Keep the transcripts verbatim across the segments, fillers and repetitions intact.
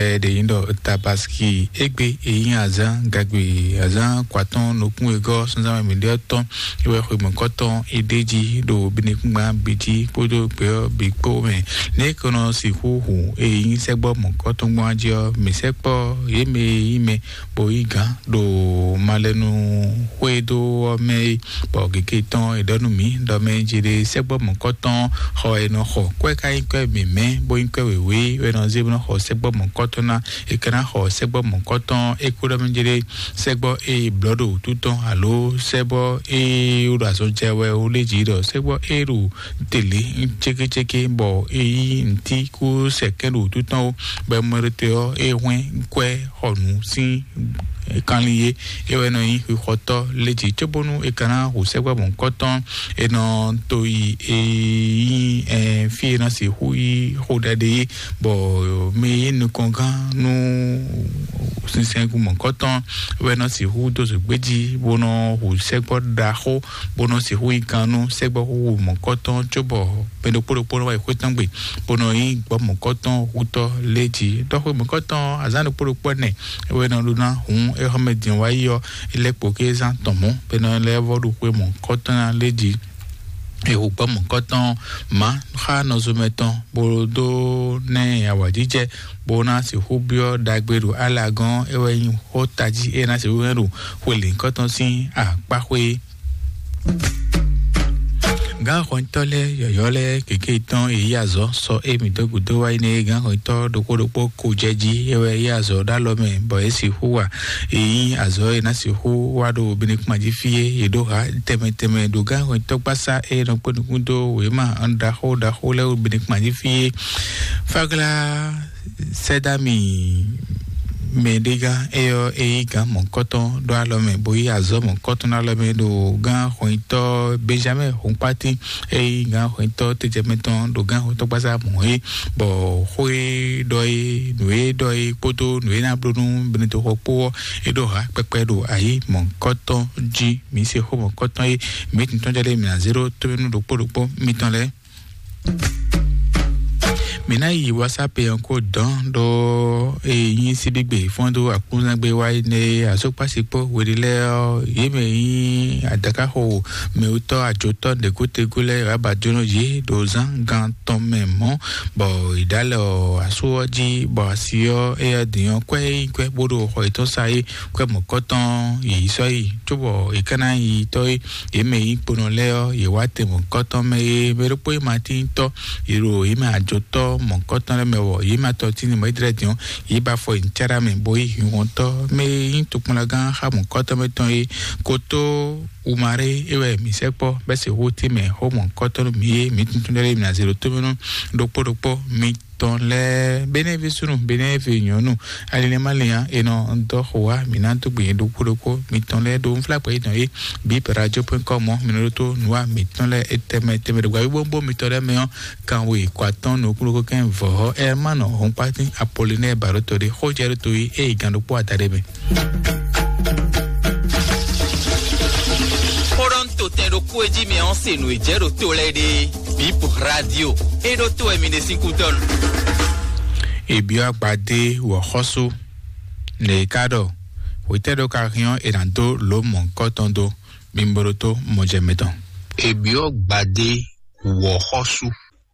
Ɛ ɖe nyí ɖɔ Tabaski égbé e nyí azǎn gagbe, azǎn kwatɔ́n nukún wegɔ́ sunzán mɛ mǐɖé tɔn é wɛ xwe mɔ̌kɔtɔn é ɖ'é jí ɖo binekúngban bǐ jí kpódó gbě ɔ́ bǐ kpó mɛ. Nɛ̌ é ko nɔ sixú hu e nyí sɛ́gbɔ́ mɔ̌kɔtɔn gbɔn jí ɔ́, mǐ sɛkpɔ́ yě mɛ e nyí mɛ bó yí gǎn ɖo malɛnu xwedó ɔ́ mɛ é, bɔ gěgé tɔn è ɖɔ nú mǐ ɖɔ mɛ jí ɖe sɛ́gbɔ́ mɔ̌kɔtɔn xɔ è nɔ xɔ kwɛ́ ká nyí kwɛ́ mǐmɛ́ bó nyí kwɛ́ wěwé wɛ nɔ zé bó nɔ xɔ sɛ́gbɔ́ mɔ̌kɔtɔn ná. È ka ná xɔ sɛ́gbɔ́ mɔ̌kɔtɔn é kó ɖɔ mɛ jí ɖe sɛ́gbɔ́ é blɔ̌ ɖo wǔtu tɔn alo sɛ́gbɔ́ é ɖo azɔn jɛ wɛ ó lé jí ɖɔ sɛ́gbɔ́ é ɖo tele cékécéké bɔ é yí ntí kú sɛkɛ́ ɖo wútu tɔn ó, bɔ mɔɖetɔ́ ɔ́ é hwɛ́n kwɛ́ xɔ nǔ sín kanlin é, é wɛ nɔ nyí xixɔtɔ́ lé jí cóbónú é ka ná hu sɛ́gbɛ́ mɔ̌hunkɔtɔn, é nɔ to yi é nyí fí e nɔ sixú yí xó ɖaɖe é, bɔ mɛ e nyí nukɔngán nú sinsɛngun mɔ̌hunkɔtɔn wɛ nɔ sixú dó zǒgbé jí bó nɔ hu sɛ́gbɔ́ ɖaxó bó nɔ sixú yí kan nú sɛ́gbɔ́ xúxú mɔ̌kɔtɔn cóbɔ mɛ ɖokpó ɖokpó nɔ wá yi xwé tɔn gbe bó nɔ nyí gbɔ́ mɔ̌kɔtɔn hutɔ́ lé jí. Ɖɔ xwe mɔ̌kɔtɔn azǎn ɖokpó ɖokpó ɛnɛ é wɛ nɔ ɖó ná hǔn é xɔmɛ din wá yi ɔ́, é lɛ́ kpo ké zán tɔn mɔ̌ bɔ é nɔ lɛ́ vɔ́ ɖo xwe mɔ̌kɔtɔn ná lé jí. È hu gbɔ́ mɔ̌kɔtɔn mǎ xá nɔzomɛ tɔn bó dó ná ɛ awǎjijɛ bó ná sixú byɔ́ ɖagbe ɖo alagɔ́n é wɛ nyí xó tají é ná sixú hɛn ɖo xwe lǐnkɔtɔn sín akpáxwé. Gǎn xɔnyitɔ́ lɛ́ɛ yɔ̌yɔ́ lɛ́ɛ kěké tɔn e yí azɔ̌ sɔ émí dó gǔdo wá yi nɛ́ gǎn xɔnyitɔ́ ɖokpó ɖokpó ko jɛ jí é wɛ yí azɔ̌ ɖó alɔ mɛ bɔ é sixú wa. E nyí azɔ̌ e ná sixú wá ɖo binekuma jí fí é, yě ɖó ha tɛnmɛ tɛnmɛ ɖo gǎn xɔnyitɔ́ gbásá e nɔ kpé nukún dó wěma ɖaxó ɖaxó lɛ́ɛ wú binekuma jí fí é. Fáglá sɛ́dámì mɛɖégán éyɔ́ é yí gǎn mɔ̌kɔ́tɔn ɖó alɔ mɛ bó yí azɔ̌ mɔ̌kɔ́tɔn ɖó alɔ mɛ ɖo gǎn xɔnyitɔ́ Benjamin Hunkpátín é yí gǎn xɔnyitɔ́ tɛjɛmɛ tɔn ɖo gǎn xɔnyitɔ́ gbásá mɔ̌ é, bɔ xó e ɖɔ é, nǔ e ɖɔ é kpódó nǔ e ná bló nú Benedexɔ kpó ɔ́, é ɖó ha kpɛkpɛ ɖo ayǐ mɔ̌kɔ́tɔn jí. Mǐ se xó mɔ̌kɔ́tɔn é, mǐ tún tɔ́n jɛ ɖé mǐ ná zé ɖó tónú ɖokpó ɖokpó mitɔn lɛ́ɛ. Mǐ ná yi WhatsApp ɔ́ kó dɔn ɖó e nyí síbígbe fɔ́n dó akúnzángbé wá yi nɛ azɔkpási kpó hweɖé lɛ́ɛ ɔ́, yě mɛ nyí adakáxo mɛwútɔ́ ajotɔ́ ɖěgútegú lɛ́ɛ wǎ ba jónɔ yě ɖo zán gan tɔn mɛ mɔ̌, bɔ è ɖǎ lɛ ɔ́ asú ɔ́ jí, bɔ asi ɔ́ éyɛ́ din ɔ́ kwɛ́ é nyí kwɛ́ bó ɖo xɔ yětɔn sa é, kwɛ́ mɔ̌kɔ́tɔn yě yi sɔ́ yi, cóbɔ è ka ná yi tɔ́ é. Yě mɛ e nyí kponɔ lɛ́ɛ ɔ́, yě wá te mɔ̌kɔ́tɔn mɛ e mɛ ɖokpó e ma tín tɔ́, yě ɖo yě mɛ ajotɔ́ mɔ̌kɔ́tɔn lɛ́ɛ mɛ wɔ, yě ma tɔtín ni mɔ̌ yi tlɛ din ɔ́, yě ba afɔ yi nǔcáɖá mɛ, bó yí hinhɔntɔ́ mɛ e nyí tokpɔnlagán xá mɔ̌kɔ́tɔn mɛ tɔn é. Kotó Umaré é wɛ mǐ sɛkpɔ́ bɛ́ se xó tɛ́nmɛ xó mɔ̌kɔ́tɔn nú mǐ é, mǐ tuntun lɛ́ɛ mǐ ná zé ɖo tómɛ nú ɖokpó ɖokpó mǐ tɔn lɛ́ɛ, Benɛ́vi súnnu, Benɛ́vi nyɔ̌nu, alinɛ́málɛ́n ǎ, è nɔ dɔ́ xo wá, mǐ ná dó gbe nyɛ ɖokpó ɖokpó mitɔn lɛ́ɛ ɖó nflákpɛ yětɔn é, bǐ radio point com ɔ́, mǐ nɔ ɖótó nǔwa mǐtɔn lɛ́ɛ é tɛnmɛ tɛnmɛ ɖo gbǎvíbówúnbó mitɔn lɛ́ɛ mɛ ɔ́, kanwe kɔ atɔ́ɔ́n nukúnnukún kɛ́n vɔ̌ Ɛrmánɔ Hɔnpátín Apolinɛ́ɛ Bǎɖótɔ́ ɖé xó jɛ ɖó to yi ée gán ɖokpó adaɖé mɛ. Xó ɖɔ un to tɛn ɖokpó e jí mɛ ɔ́ se nǔ e jɛ ɖo to lɛ́ɛ ɖe. Bip Radio, é ɖó to wɛ mi ɖe sín kútɔ́ nu. Ebyɔ́ agbadé wɔ̌xɔ́sú, nɛ̌ é ka ɖɔ? Hwetɛ́ ɖó ka hɛn ɔ́, è nǎ dó lǒ mɔ̌hunkɔtɔn dó? Mi bo ɖótó mɔjɛmɛ tɔn. Ebyɔ́ gbadé wɔ̌xɔ́sú.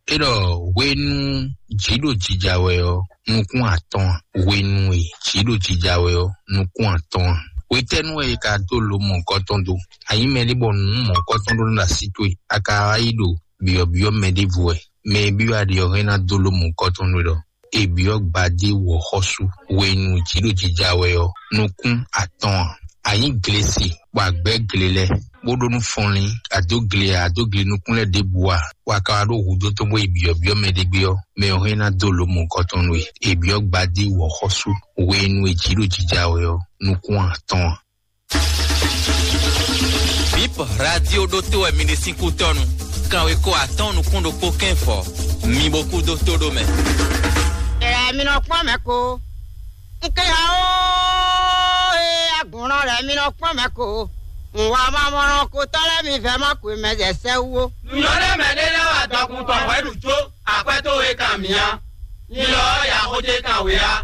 É ɖɔ hwenu jǐ ɖo jija wɛ ɔ́, nukún atɔ́ɔ́n ǎ. Hwenu e jǐ ɖo jija wɛ ɔ́, nukún atɔ́ɔ́n ǎ. Hwetɛ́nu wɛ è ka dó lǒ mɔ̌hunkɔtɔn dó? A nyǐ mɛɖé bɔ nǔ mɔ̌hunkɔtɔn ɖó nú así towe, a ka wá yi ɖo byɔ̌byɔ́ mɛ ɖěvo wɛ? Mɛ e byɔ́ a ɖe ɔ́ hɛn ná dó lǒ mɔ̌hunkɔtɔn nú we ɖɔ: Ebyɔ́ gbadé wɔ̌xɔ́sú hwenu jǐ ɖo jija wɛ ɔ́, nukún atɔ́ɔ́n ǎ. A nyǐ glesi bɔ a gbɛ̌ gle lɛ́ɛ, bó ɖó nú fɔnlín, a dó gle a, a dó gle nukún lɛ́ɛ ɖěbǔ a, bɔ a ka wá ɖó hudó tɔn bó yi byɔ̌byɔ́ mɛ ɖé gbé ɔ́, mɛ ɔ́ hɛn ná dó lǒ mɔ̌hunkɔtɔn nú we. Ebyɔ́ gbadé wɔ̌xɔ́sú hwenu e jǐ ɖo jija wɛ ɔ́, nukún atɔ́ɔ́n ǎ. Bip Radio ɖótó wɛ mi ɖe sín kútɔ́nu. Kanwe ko atɔ́ɔ́n nukún ɖokpó kɛ́n fɔ. Mi bo kú dó tó ɖó mɛ. Ɛ mi nɔ kpɔ́n mɛ ko. N ké ya ó, ɛ agbɔ̌nɔ lɛ́ɛ mi nɔ kpɔ́n mɛ ko. N wa ma mɔnɔ ko tɔ́ lɛ́ɛ mi vɛ́ ma ko mɛ zɛ sɛ wú ó. Nǔnyɔ́ ɖé mɛ ɖé lɛ́ wá dɔkun tɔn hwɛ ɖu jó, akwɛ́ tó we kan mǐ á. Nyilɔ ɔ́ ya xó jɛ kan we á.